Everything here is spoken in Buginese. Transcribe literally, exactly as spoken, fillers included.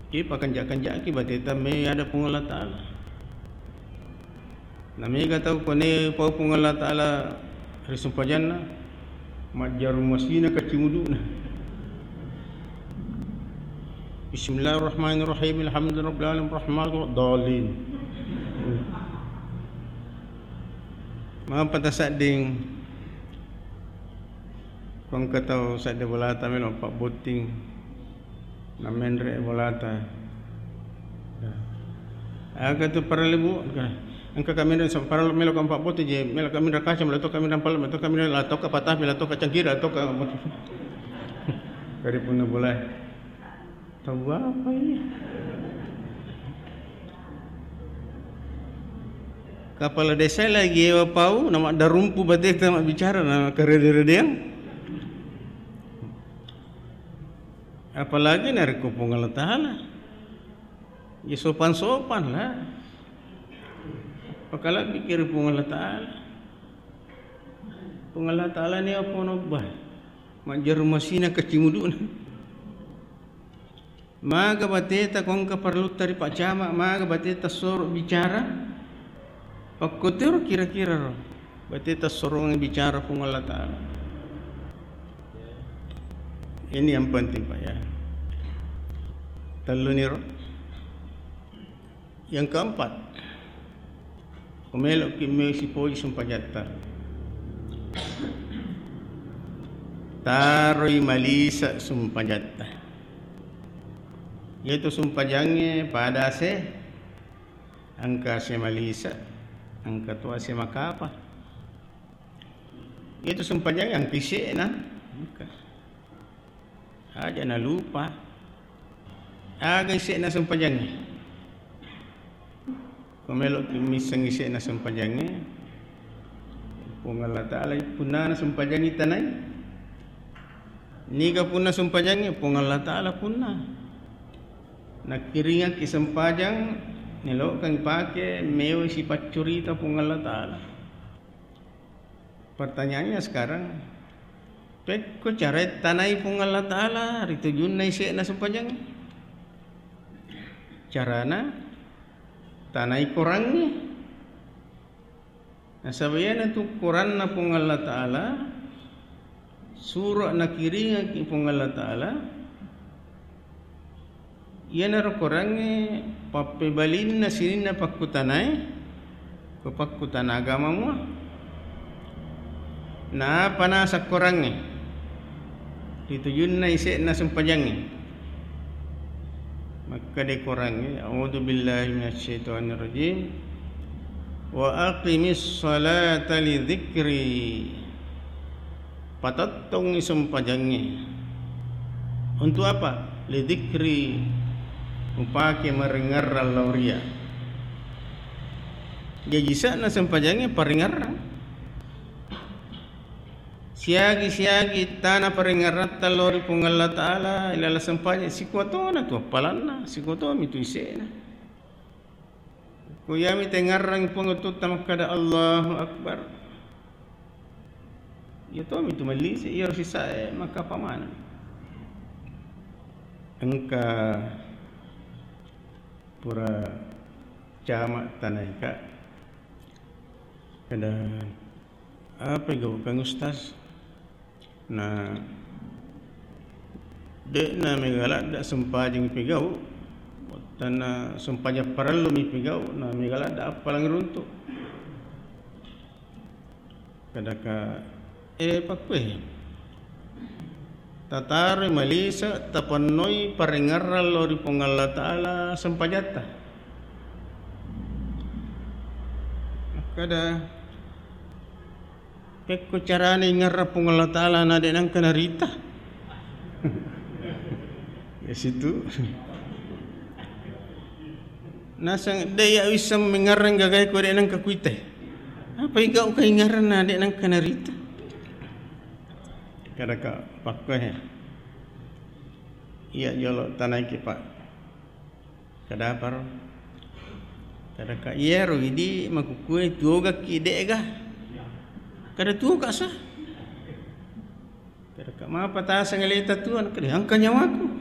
Ki pakenja-kenjaki bateta me ada Puang Allah Ta'ala. Na mega tau kone pau Puang Allah Ta'ala ri sumpajanna, majjaru masina kacimuduna. Bismillahirrahmanirrahim, alhamdulillahirabbil alamin, arrahmanirrahim, dhalin. Mapa tasadding, ko engka tau sadde bolata melo pabbotting. Namenre bolata. Aga tu parellu, Bu? Engka kami parellu melo kampa bote je, melo kami kaca, melo to kami palu, melo to kami la toka patapi, la toka cangkir, la toka kari punna bola. Tahu apa iya? Kepala desa lagi ewa pau, nama darumpu bateta mabbicara, na karede-redeang. Apalagi narekko Puang Allah Ta'ala. Ya sopan-sopan lah. Pakalabbiki ri Puang Allah Ta'ala. Puang Allah Ta'ala ni apa nobba? Majjaru masina kacimuduna. Maga bateta ko engka parellutta ri Pak Camat, maga bateta soro bicara? Pakkotiro kira-kira ro, bateta sorongeng bicara Puang Allah Ta'ala. Ini yang penting, Pak, ya. Telluniro. Yang keempat, ko meloki me sipoji sumpajatta, taroi malisa sumpajatta. Iyatu sumpajangnge pada ase, engka ase malisa, engka to ase makapa. Iyatu sumpajangnge engka ise'na, engka. Aja nalupa. Aga ise'na sumpajangnge? Ko meloki misseng ise'na sumpajangnge, Puang Allah Ta'ala punnana sumpajangnge tanai. Niga punna sumpajangnge? Puang Allah Ta'ala punna. Nakkiringakki sempajang, nelokangngi pake, mewai sipaccurita Puang Allah Ta'ala. Pertanyaannya sekarang, pekko carae tanai Puang Allah Ta'ala ri tujunna ise'na sumpajangnge? Carana, tanai korangnge. Nasaba iyanatu koranna Puang Allah Ta'ala, suro nakiringakki Puang Allah Ta'ala, iyanaro korangnge pappebalinna sininna pakkutanae, ko pakkutana agama mua. Naapa naseng korangnge? Ri tujunna ise'na sumpajangnge. Makkeda korangnge, "A'udzu billahi minasyaitonir rajim. Wa aqimis sholata li dzikri." Patettongngi sempajangnge. Untuk apa? Li dzikri, upake maringerrang lao ria. Jaji ise'na sempajangnge paringerrang. Siagi-siagi tana paringerratta lao ri Puang Allah Ta'ala, ilala sempajang, sikuatona tu appalanna, sikuatomi tu ise'na. Ko iyami tengngarrangi Puang Tuhatta makkada, "Allahu Akbar." Iya tomi tu mallisi, iyaro sisae makkapa maneng. Engka pura camat tanaika. Kada, apa gaukkang Ustaz? Na, de'na mega ladda sempajang pigau, wattanna sempajang parellu mi pigau, na mega ladda appalang runtu. Kadaka, eh, pakkue. Tataroi malise, tapennoi paringerrang lao ri Puang Allah Ta'ala sempajatta. Makkada, pekko carana ingerrang Puang Allah Ta'ala na de' nengka narita? Ya situ. Naseng de' iya wisseng mengerrang gagae ko de' nengka kuita. Apa igau ka ingerrang na de' nengka narita? Kadaka pakkue. Iya jolo tanaiki, Pak. Kadaparo? Kadaka iyaro idi makukkue tuogakki de'ga? Kada tuoga sa. Kadaka mapa taseng aleta tuo? Kada engka nyawaku.